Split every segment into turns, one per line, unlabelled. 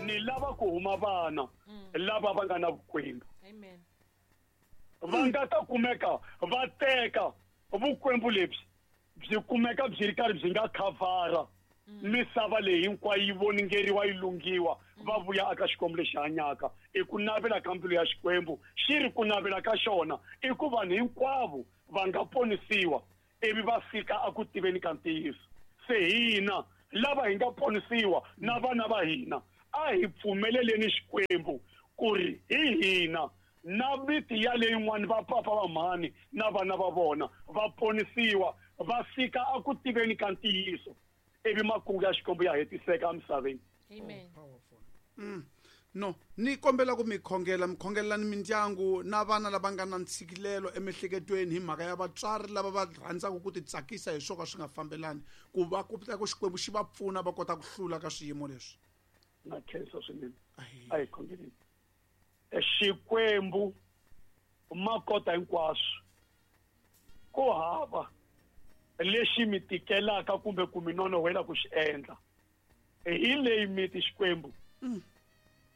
Ni lava ku huma vana lava va nga na vukwembu.
Amen.
Va nga ta kumeka va teka vukwembu lebyi byi kumeka byi ri karhi byi nga khavhara misava leyi hinkwayo yi voningeriwa yi lunghiwa va vuya aka Xikwembu lexi hanyaka. I ku navela ka mbilu ya Xikwembu, xi ri ku navela ka xona i ku vanhu hinkwavo va nga ponisiwa ivi va fika a ku tiveni ka ntiyiso. Se hina lava hi nga ponisiwa na vana va hina a hi pfumeleleni Xikwembu ku ri hi hina na miti ya leyin'wana va papa va mhani na vana va vona va ponisiwa va fika a ku tiveni ka ntiyiso ivi makungu ya Xikwembu ya hetiseka emisaveni.
Amen.
Powerful. No, ni kombela ku mi khongela, mi khongelelani mindyangu na vana lava nga na ntshikilelo emiehleketweni hi mhaka ya vatswari lava va rhandzaka ku titsakisa hi swo ka swi nga fambelani, ku va ku ta ku Xikwembu xi va pfuna va kota ku hlula ka swiyimo leswi.
Na khensa swinene.
Ahi.
A hi khongeleni. Xikwembu makota hinkwaswo, ku hava lexi mi tikelaka kumbe ku mi nonohela ku xi endla. Hi leyi miti Xikwembu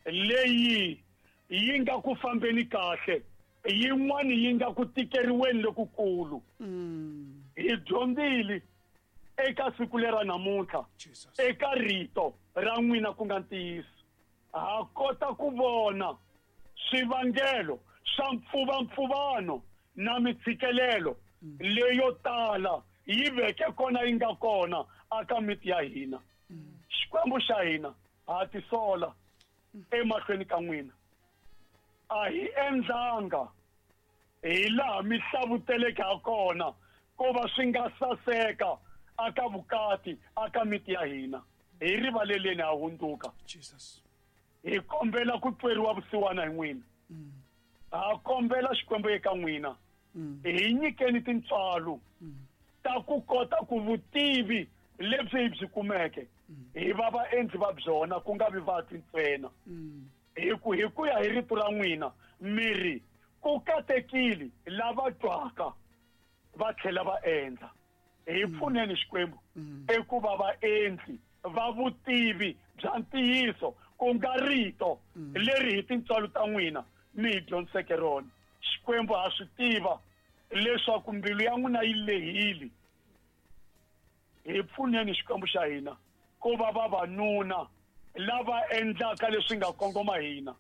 leyi yi nga ku fambeni kahle, yin'wani yi nga ku tikeriweni lokukulu. Hi dyondzile eka siku lera namuntlha
Jesus.
eka rito ra n'wina ku nga ntiyiso. Ha kota ku vona swivangelo swa mpfuvampfuvano na mitshikelelo leyo tala yi veke kona yi nga kona aka miti ya hina. Xikwembu xa hina ha tisola emahlweni ka n'wina. A hi endlanga hi laha mi hlavuteleke ha kona ku va swi nga saseka aka vukati aka miti ya hina. Hi rivaleleni ha hundzuka.
Jesus.
Hi kombela ku tweriwa vusiwana hi n'wina. Ha kombela Xikwembu eka n'wina. Hi nyikeni tintswalo ta ku kota ku vutivi lebyi hi byi kumeke hi va vaendli va byona, ku nga vi vatwi ntsena. Hi ku hi ku ya hi rito ra n'wina mi ri ku katekile lava twaka va tlhela va endla. Hi pfuneni Xikwembu eku va vaendli va vutivi bya ntiyiso, ku nga rito leri hi tintswalo ta n'wina mi hi dyondziseke rona. Xikwembu ha swi tiva leswaku mbilu ya n'wina yi lehile. Hi pfuneni Xikwembu xa hina ku va vavanuna lava endlaka leswi nga kongoma hina,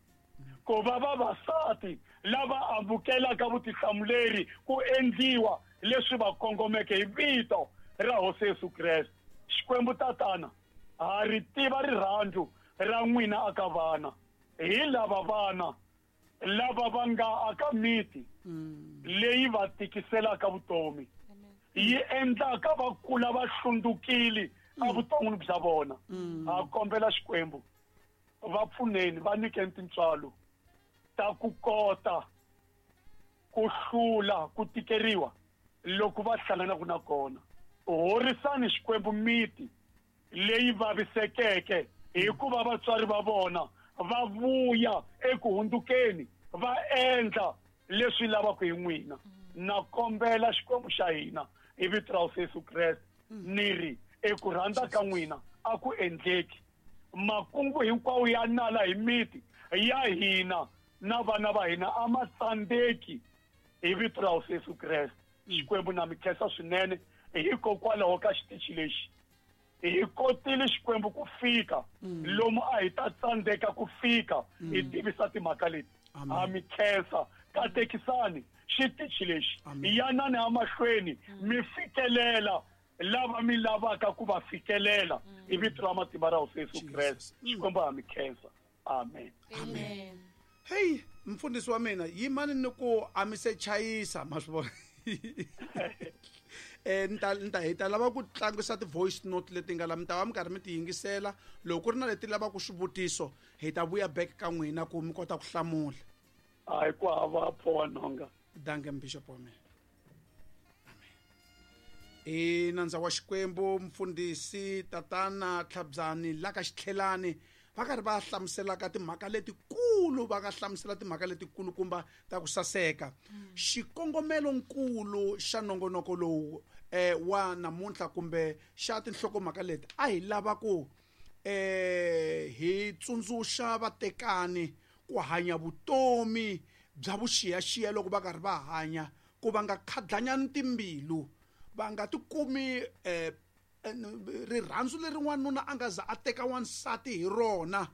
ku va vavasati lava amukelaka vutihlamuleri ku endliwa leswi va kongomeke hi vito ra Hosi Yesu Kreste. Xikwembu Tatana, ha ri tiva rirhandzu ra n'wina aka vana. Hi lava vana lava va nga aka miti leyi va tikiselaka vutomi, yi endlaka va kula va hlundzukile evuton'wini bya vona. Ha kombela Xikwembu va pfuneni, va nyikeni tintswalo ta ku kota ku hlula ku tikeriwa loko va hlanganaka na kona. Horisani Xikwembu miti leyi vavisekeke hikuva vatswari va vona va vuya eku hundzukeni va endla leswi lavaka hi n'wina. Na kombela Xikwembu xa hina hi vito ra Hosi Yesu Kreste, ni ri eku rhandza ka n'wina a ku endleki. Makungu hinkwawo ya nala hi miti ya hina na vana va hina a ma tsandzeki hi vito ra Hosi Yesu Kreste. Xikwembu na mi khensa swinene hikokwalaho ka xitichi lexi. Hi kotile Xikwembu ku fika lomu a hi ta tsandzeka ku fika hi tivisa timhaka leti.
Amen.
Ha mi khensa. Katekisani xitichi lexi.
Amen.
Yanani emahlweni mi fikelela lava mi lavaka ku va fikelela hi vito ra matimba ra Hosi Yesu
Jesus.
Kreste. Xikwembu ha mi khensa. Amen.
Amen.
Hey, mfundhisi wa mina, yimani ni ku a mi se chayisa, ma swi vona. Ni ta hi ta lava ku tlangisa ti-voice note leti nga la, mi ta va mi karhi mi ti yingisela. Loko ku ri na leti lavaka swivutiso, hi ta vuya back ka n'wina ku mi kota ku hlamula.
Hayi, ku hava pho nhonga.
Danke, Bishop wa mina. Amen. I nandza wa Xikwembu mfundhisi Tatana Tlhabyani la ka Xitlhelani, va karhi va hlamuselaka timhaka letikulu, va nga hlamusela timhaka letikulukumba ta ku saseka. Xikongomelonkulu xa nongonoko lowu wa namuntlha kumbe xa tinhlokomhaka leti, a hi lava ku hi tsundzuxa vatekani ku hanya vutomi bya vuxiyaxiya loko va karhi va hanya, ku va nga khadlanyani timbilu, va nga tikumi rirhandzu leri n'wanuna a nga za a teka wansati hi rona,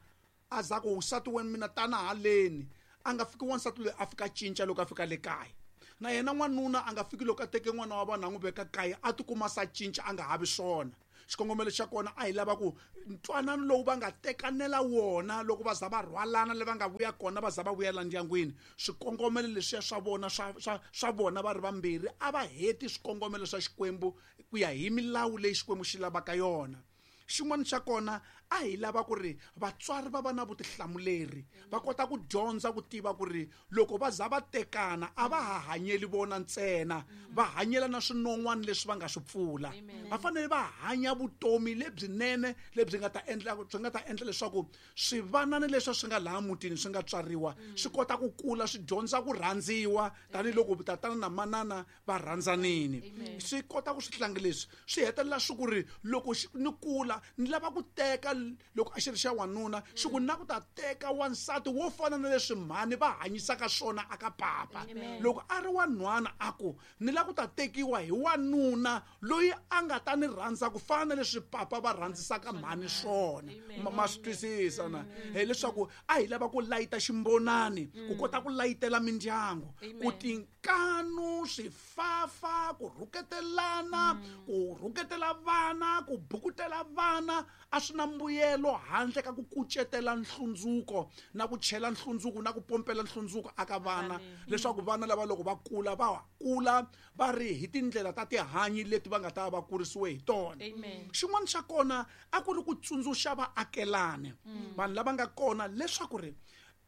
a za ku nsati wa mina tana haleni, a nga fiki wansati loyi a fika cinca loko a fika le kaya. Na yena n'wanuna a nga fiki loko a teke n'wana wa vanhu a n'wi veka kaya a tikuma sa cinca a nga havi swona. Xikongomelo xa kona a hi lava ku ntwanano lowu va nga tekanela wona loko va za va rhwalana le va nga vuya kona va za va vuyela ndyangwini, swikongomelo leswiya swa vona swa vona va ri vambirhi a va heti swikongomelo swa Xikwembu ku ya hi milawu leyi Xikwembu xi lavaka yona. Xin'wana xa kona a hi lava ku ri vatswari va va na vutihlamuleri, va kota ku dyondza ku tiva ku ri loko va za va tekana a va ha hanyeli vona ntsena, va hanyela na swinon'wana leswi va nga swi pfula. Va fanele va hanya vutomi lebyinene lebyi nga ta endla byi nga ta endla leswaku swivanana leswi swi nga laha mutini swi nga tswariwa swi kota ku kula swi dyondza ku rhandziwa tanihiloko tatana na manana va rhandzanini. Swi kota ku swi tlanga leswi swi hetelela swi ku ri loko ni kula ni lava ku teka, loko a xi ri xa wanuna xi ku na ku ta teka wansati wo fana na leswi mhani va hanyisaka swona aka papa. Loko a ri wanhwana a ku ni lava ku ta tekiwa hi wanuna loyi a nga ta ni rhandza ku fana na leswi papa va rhandzisaka mhani swona. Ma swi twisisa na? Hileswaku a hi lava ku layita ximbonani ku kota ku layitela mindyangu, ku tinkanu, swifafa, ku rhuketelana, ku rhuketela vana, ku bukutela vana a swi na mbuyelo handle ka ku kucetela nhlundzuko na ku chela nhlundzuko na ku pompela nhlundzuko aka vana, leswaku vana lava loko va kula va kula va ri hi tindlela ta tihanyi leti va nga ta va kurisiwe hi tona. Xin'wana xa kona a ku ri ku tsundzuxa vaakelani, vanhu lava nga kona, leswaku ri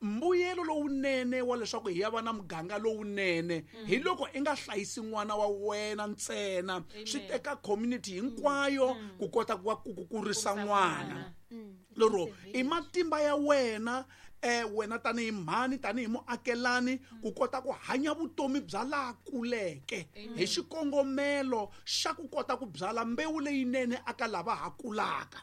mbuyelo lowunene wa leswaku hi ya va na muganga lowunene hi loko i nga hlayisi n'wana wa wena ntsena, swi teka community hinkwayo ku kota ku kurisa n'wana. Lero i matimba ya wena wena tanihi mhani, tanihi muakelani, ku kota ku hanya vutomi bya laha kuleke hi xikongomelo xa ku kota ku byala mbewu leyinene aka lava ha kulaka.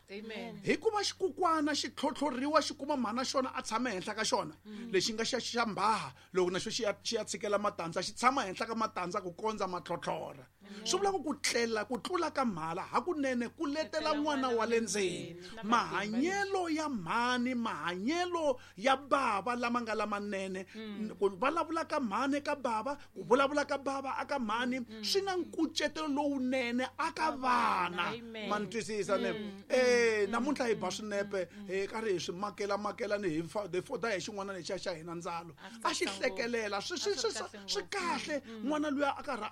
Hikuva xikukwana xi tlhotlhoriwa xi kuma mhana xona a tshama henhla ka xona, lexi nga xa mbhaha loko na xo xi ya tshikela matandza, xi tshama henhla ka matandza ku kondza ma tlhotlhora. Swi vula ku tlela ku tlula ka mhala hakunene ku letela n'wana wa le ndzeni. Mahanyelo ya mhani, mahanyelo ya bava lama nga lamanene, ku vulavula ka mhani ka bava, ku vulavula ka bava aka mhani, swi na nkucetelo lowunene aka vana. Ma ni twisisa ne? Namuntlha hi ba swinepe hi karhi hi swi makela makela ni hi foda hi xin'wana lexiya xa hina ndzalo a xi hlekelela swi kahle. N'wana luya a karhi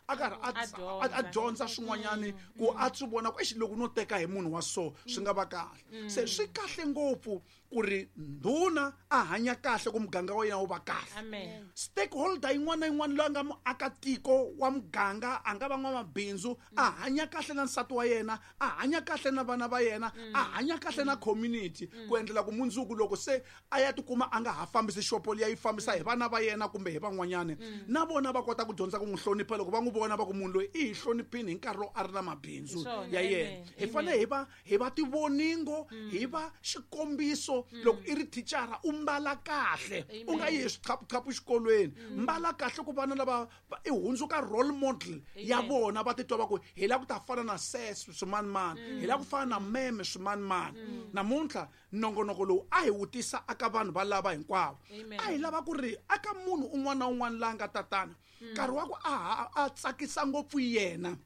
a karhi a dyondza swin'wanyani ku a swi vona ku exi loko no teka hi munhu wa so swi nga va kahle. Se swi kahle ngopfu ku ri ndhuna a hanya kahle ku muganga wa yena wu va kahle. Stakeholder yin'wana na yin'wana loyi a nga muakatiko wa muganga, a nga va n'wamabindzu, a hanya kahle na nsati wa yena, a hanya kahle na vana va yena, a hanya kahle na community, ku endlela ku mundzuku loko se a ya tikuma a nga ha fambisi xopo liya yi fambisa hi vana va yena kumbe hi van'wanyani, na vona va kota ku dyondza ku n'wi hlonipha loko va n'wi vona va ku munhu loyi i hi hloniphini hi nkarhi lowu a ri na mabindzu ya yena. Hi fanele hi va tivoningo, hi va xikombiso. Loko i ri thicara u mbala kahle, u nga yi hi swiqhapuqhapu xikolweni, mbala kahle ku vana lava i hundzuka role model ya vona, va titwa va ku hi lava ku ta fana na ses swimanimani, hi lava ku fana na meme swimanimani. Namuntlha nongonoko lowu a hi wu tisa aka vanhu va lava hinkwavo, a hi lava ku ri aka munhu un'wana na un'wana la nga tatana nkarhi wa ku a tsakisa ngopfu yena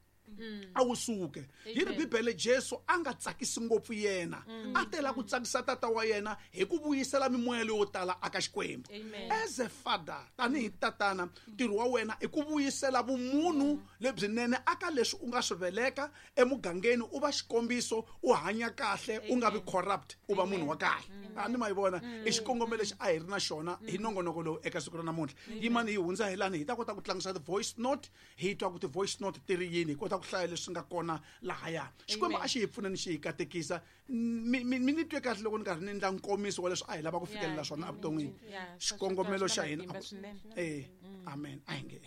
a wu suke. Yi ri Bibele Jesu a nga tsakisi ngopfu yena, a tela ku tsakisa tata wa yena hi ku vuyisela mimoya leyo tala aka Xikwembu. As a father, tanihi tatana, ntirho wa wena i ku vuyisela vumunhu lebyinene aka leswi u nga swi veleka emugangeni, u va xikombiso, u hanya kahle, u nga vi corrupt, u va munhu wa kahle. A ni ma yi vona i xikongomelo lexi a hi ri na xona hi nongonoko lowu eka siku ra namuntlha. Yimani hi hundza hi lani hi ta kota ku tlangisa ti-voice note, hi twa ku ti-voice note ti ri yini, hi kota ku hlaya leswi nga kona lahaya. Xikwembu a xi hi pfuneni xi hi katekisa. Mi ni twe kahle loko ni karhi ni endla nkomiso wa leswi a hi lava ku fikelela swona evuton'wini. Xikongomelo xa hina amen. A hi nge